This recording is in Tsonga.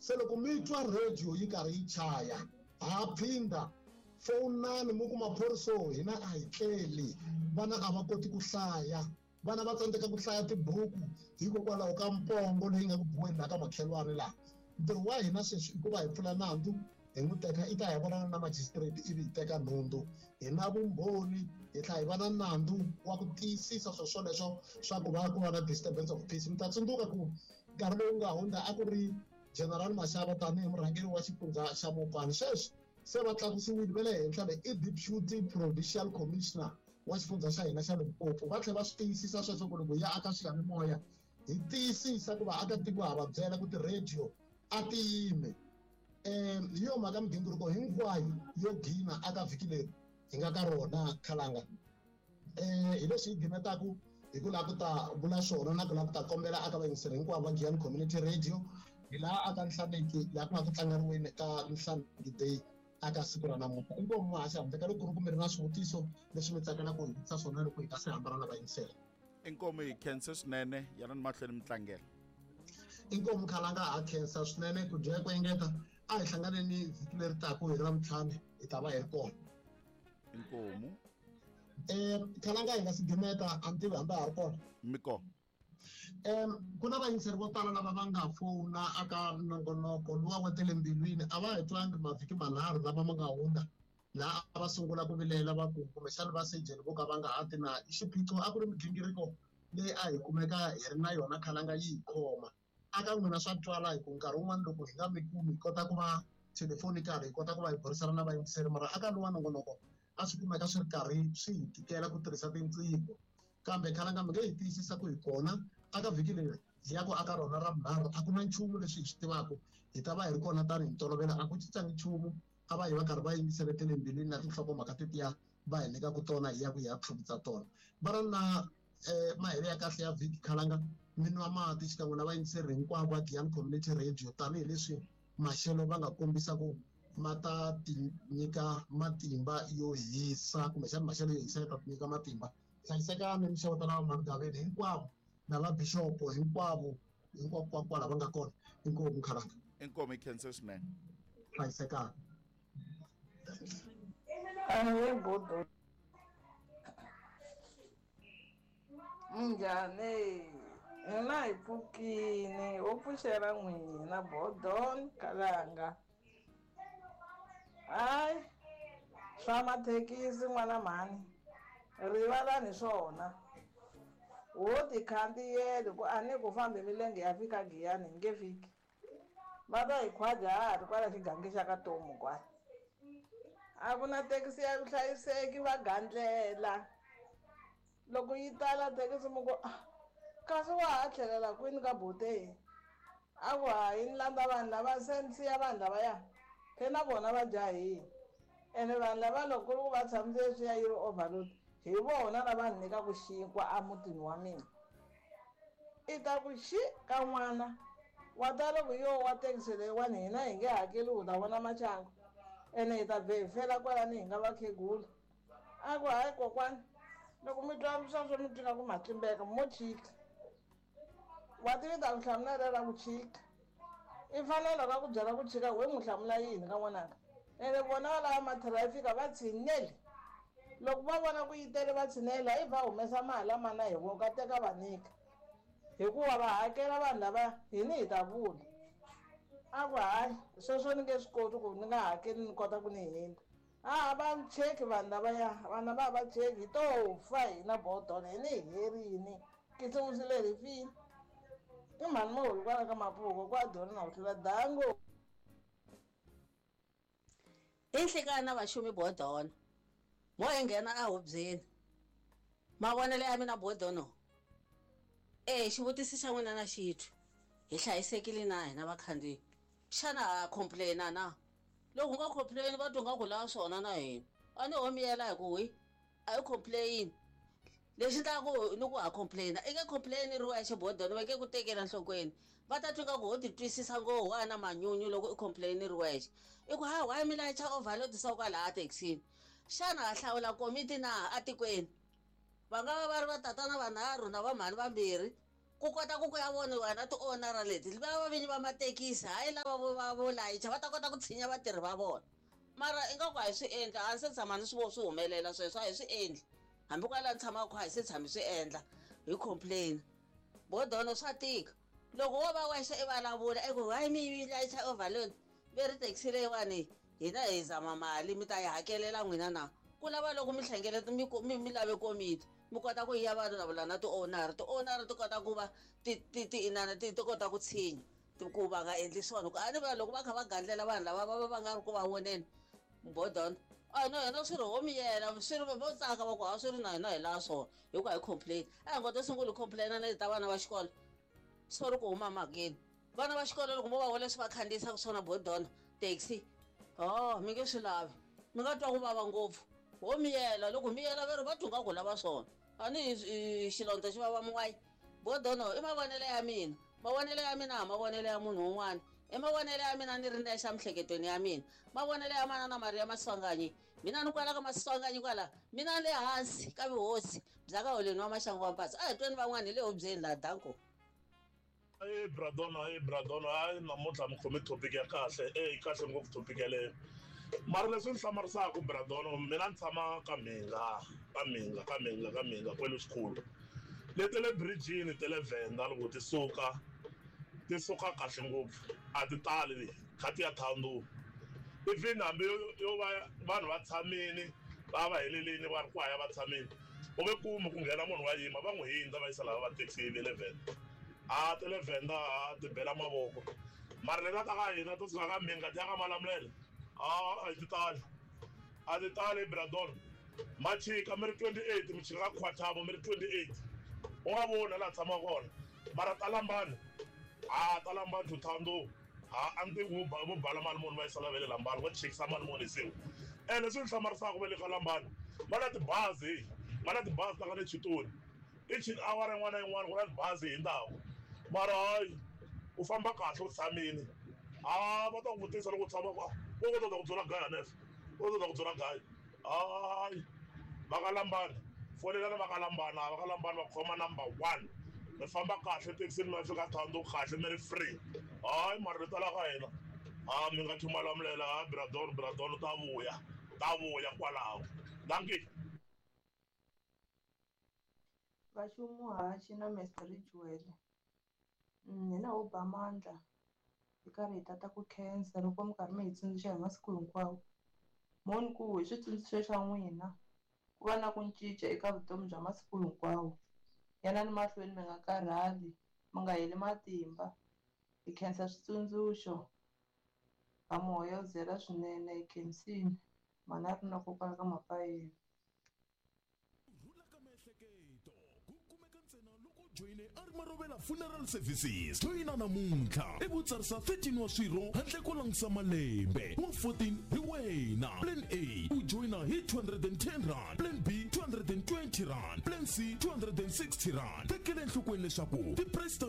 Se loko mi twa radio yi karhi yi chaya, ha phindha, fowunani mi ku maphoriso hina a hi tleli, vana a va koti ku hlaya, vana va tsandzeka ku hlaya tibuku hikokwalaho ka mpongo leyi nga ku biweni laha ka makhelwani laha. Ntirho wa hina sweswi i ku va hi pfula nandzu hi n'wi teka i ta ya vonana na magistrate ivi hi teka nhundzu. Hi na vumbhoni hi tlhela hi va na nandzu wa ku tiyisisa swilo swoleswo swa ku va ku va na disturbance of peace. Mi ta tsundzuka ku nkarhi lowu nga hundza a ku ri General Mashaba tanihi murhangeri wa xifundzha xa Mopani. Sweswi se va tlakusiwile va le henhla le i Deputy Provincial Commissioner wa xifundzha xa hina xa Limpopo. Va tlhela va swi tiyisisa sweswo ku loko hi ya aka swiyanimoya hi tiyisisa ku vaakatiko ha va byela ku ti-radio a ti yimi. Um hi yo mhaka migingiriko hinkwayo yo gina aka vhiki leri hi nga ka rona khalanga. Hi leswi hi gimetaku hi ku lava ku ta vula swona na ku lava ku ta kombela aka vayingiseri hinkwavo va Giyani Community Radio hi laha aka Nhlaneki laha ku nga ku tlangeriweni ka Nhlaneki Day aka siku ra namuntlha. Inkomu muhaxi handle ka loko ku ri ku mi ri na swivutiso leswi mi tsakelaka ku hi vutisa swona loko hi nga se hambana na vayingiseri. Inkomu hi khense swinene yanani mahlweni mi tlangela. Inkomu khalanga ha khensa swinene ku dya ku engeta a hi hlanganeni vhiki leri taku hi Ravuntlhanu hi ta va hi ri kona. Inkomu. Khalanga hi nga si gimeta a ni tivi hambi a ha ri kona. Mi kona. Ku na vayingiseri vo tala lava va nga fowuna aka nongonoko luwa wa tele mbilwini a va hi twangi mavhiki manharhu lama ma nga hundza laha a va sungula ku vilela va ku kumbexana va sejeni vo ka va nga ha ti na xiphiqo a ku ri migingiriko leyi a hi kumeka hi ri na yona khalanga yi hi khoma. Aka n'wina swa twala hi ku nkarhi wun'wana loko hi nga mi kumi hi kota ku va telefonically hi kota ku va hi burisana na vayingiseri mara aka luwa nongonoko a swi kumeka swi ri karhi swi hi tikela ku tirhisa tinqingho kambe khalanga mi nge hi tiyisisa ku hi kona aka vhiki leri hi ya ku aka rona ra vunharhu a ku na nchumu leswi hi swi tivaka hi ta va hi ri kona tanihi ntolovelo a ku cincangi nchumu a va yi va karhi va yingisele tele mbilwini na tinhlokomhaka tetiya va hi nyikaka tona hi ya ku hi ya tlhuvutsa tona va ri na mahelo ya kahle ya vhiki khalanga mi nwa mati xikan'we na vayingiseri hinkwavo va Giyani Community Radio tanihileswi maxelo va nga kombisa ku ma ta ti nyika matimba yo hisa kumbexana maxelo yo hisa ya ta ti nyika matimba. Hlayisekani mi xeweta na vamhani hinkwavo na vabixopo hinkwavo hinkwako kwala va nga kona. Inkomu khalanga. Inkomu hi khense swinene. Hlayisekani. Ahee budo. Minjhani? Hina hi pfukini ho pfuxela n'wina Bodon Kalanga. Hayi swa mathekisi n'wana mhani rivalani swona ho ti khandziyela ku a ni ku fambi milenge ya fika Giyani hi nge fiki. Va ta hi khwaja ha ha ri kwala xigangi xa ka Tomu kwala. A ku na thekisi ya vuhlayiseki va gandlela. Loko yi tala thekisi mi ku ah, kasi wa ha tlhelela kwini ka Botei? A ku hayi ni landza vanhu lava se ni siya vanhu lavaya se na vona va jahile. Ene vanhu lava loko ku ri ku va tshamise leswiya yi ri overload hi vona lava ni nyikaku xinkwa emutini wa mina. I ta ku xi ka n'wana wa ta loko yo wa thekisi leyiwani hina hi nge hakeli u ta vona maxangu ene hi ta vhe hi fela kwalani hi nga vakhegula. A ku hayi kokwani loko mi twa sweswo mi twi nga ku ma tlimbeka mo chika. Wa tivi ta ku hlamula rero ra ku chika. I fanele loko a ku byela ku chika we n'wi hlamula yini ka n'wananga. Ene vona va lava mathirafika va tshineli. Loko va vona ku yi tele va tshinela ivi va humesa mali a mana hi voko a teka va nyika. Hikuva va hakela vanhu lava hini hi ta vula. A ku hayi sweswo ni nge swi koti ku ni nga hakeli ni kota ku ni hindza. A va cheki vanhu lavaya vanhu lava a va cheki hi to fa hina bodona hi ni hi herini kisimusi leri hi file i mhani moholi kwala ka mapuko kwa dona na ku tlula dango. I nhlikani vaxumi bodona mo hi nghena ehubyeni mavonelo ya mina bodono e xivutiso xa n'wina na xitwi hi hlayisekile na hina vakhandziyi xana ha complaina na loko u nga complain va twa nga ku lava swona na hina a ni ho miyela hi ku wi a yi complain lexi ndlaku ni ku ha complaina i nge complain ri wexe bodoni va nge ku tekela nhlokweni va ta twa nga ku ho ti twisisa ngopfu wa na manyunyu loko i complain ri wexe i ku ha why mi layicha overload sa kwalaha thekisini xana ha hlawula komiti na atikweni va nga va va ri va tatana vanharhu na va mhani vambirhi. Ku kota ku ku ya voniwa na ti-owner leti lava vinyi va mathekisi, hayi lava vo va vo layicha, va ta kota ku tshinya vatirhi va vona. Mara ingaku a hi swi endli, a ni se tshama ni swi vo swi humelela sweswo, a hi swi endli. Hambi kwala ni tshamaka kona a hi se tshami swi endla, hi complain. Bodono swa tika. Loko wo va wexe i vulavula i ku hayi mi layicha overload, ve ri taxi leyiwani hina hi zama mali mi ta yi hakelela n'wina na. Ku lava loko mi hlengeleta mi lave komiti, mi kota ku ya vulavula na ti-owner, ti-owner ti kota ku va ti ti ti inana ti ti kota ku tshinya ku va nga endli swona. Ku a ni vula loko va kha va gandlela vanhu lava va va va nga ri ku va voneni bodona, a no hina swi ri ho miyela, swi ri vo tsaka va ku ha swi ri na hina hi laha swona, hi ku a hi complain. A hi ngo to sungula hi complain na leti ta vana va xikolo, sorry ku huma mhakeni. Vana va xikolo loko mo va vona leswi va khandziyisaka swona bodona taxi, ho mi nge swi lavi, mi nga twa ku vava ngopfu. Ho miyela, loko miyela va ri va twa nga ku lava swona. A ni xilondza xi vava mun'wayi. Bodono i mavonelo ya mina, mavonelo ya mina a mavonelo ya munhu un'wana, i mavonelo ya mina ni ri nexe emiehleketweni ya mina. Mavonelo ya manana Maria Maswanganyi, mina ni kwala ka Maswanganyi kwala, mina le hansi ka vuhosi bya ka holeni wa Maxangu wa Mpatsa. A hi tweni van'wana hi le hubyeni laha, danko. E bradona, e bradona, hayi namuntlha mi khome topic ya kahle, e kahle ngopfu topic yaleyo. Mara leswi ni hlamarisaka bradona, mina ni tshama ka Mhinga, ka Mhinga, ka Mhinga, ka Mhinga kwele xikhulu. Leti le bridge-ini ta le Venda loko ti suka, ti suka kahle ngopfu, a ti tali kha ti ya Thohoyandou. Even hambi yo va vanhu va tshamile, va va helelini va ri ku haya va tshamile, u nge kumi ku nghena munhu wa yima, va n'wi hindza va yisa lava va taxi va le Venda. A ta le Venda a ti bela mavoko. Mara leta ta ka hina to suka ka Mhinga ti ya ka Malamulele, a ti tali, a ti tali bradona. Ma chika mi ri 28, mi chika ka Khwathamo mi ri 28, u nga voni laha tshamaka kona. Mara ta Lambani, a ta Lambani to Thohoyandou, a ni tivi vo vo bala mali muni va yisa la va le Lambani, va chikisa mali muni hi siku. Ene leswi ni hlamarisaka va le ka Lambani, va na tibazi, va na tibazi ta ka le Chitoni. Each awara yin'wana na yin'wana ku na tibazi hi ndhawu. Mara hayi u famba kahle u tshamile, a va ta ku vutisa loko u tshama ku vo ta ku byela gaya hanefo, vo ta ku byela gaya. Hayi va ka Lambani, fonelana va ka Lambani, va ka Lambani va khoma number 1. Mi famba kahle thekisini mi ya fika Thohoyandou kahle mi ri free. Hayi mara leti la ka hina, a mi nga Malamulele, ha bradon, bradon ta vuya, ta vuya kwalaho. Dankie. Vaxumuhaxi na Mr Rijwele, hina ho ba mandla hi karhi hi tata ku khensa loko mi karhi mi hi tsundzuxa hi masiku hinkwawo. Moni ku hi switsundzuxo swa n'wina ku va na ku cinca eka vutomi bya masiku hinkwawo. Yanani mahlweni mi nga karhali, mi nga heli matimba. Hi khensa switsundzuxo ha moya wu zela swinene, hi khensile. Mhana ri na kokwala ka Mapayeni. Rhula ka miehleketo ku kumeka ntsena loko u joyine a ri Marovela Funeral Services. Joyina namuntlha i vutsarisa 13 wa swirho handle ko langutisa malembe, wa 14 hi wena. Plan A u joyina hi 210 rand, plan B 220 rand, plan C 260 rand. Tekela enhlokweni leswaku ti-price ta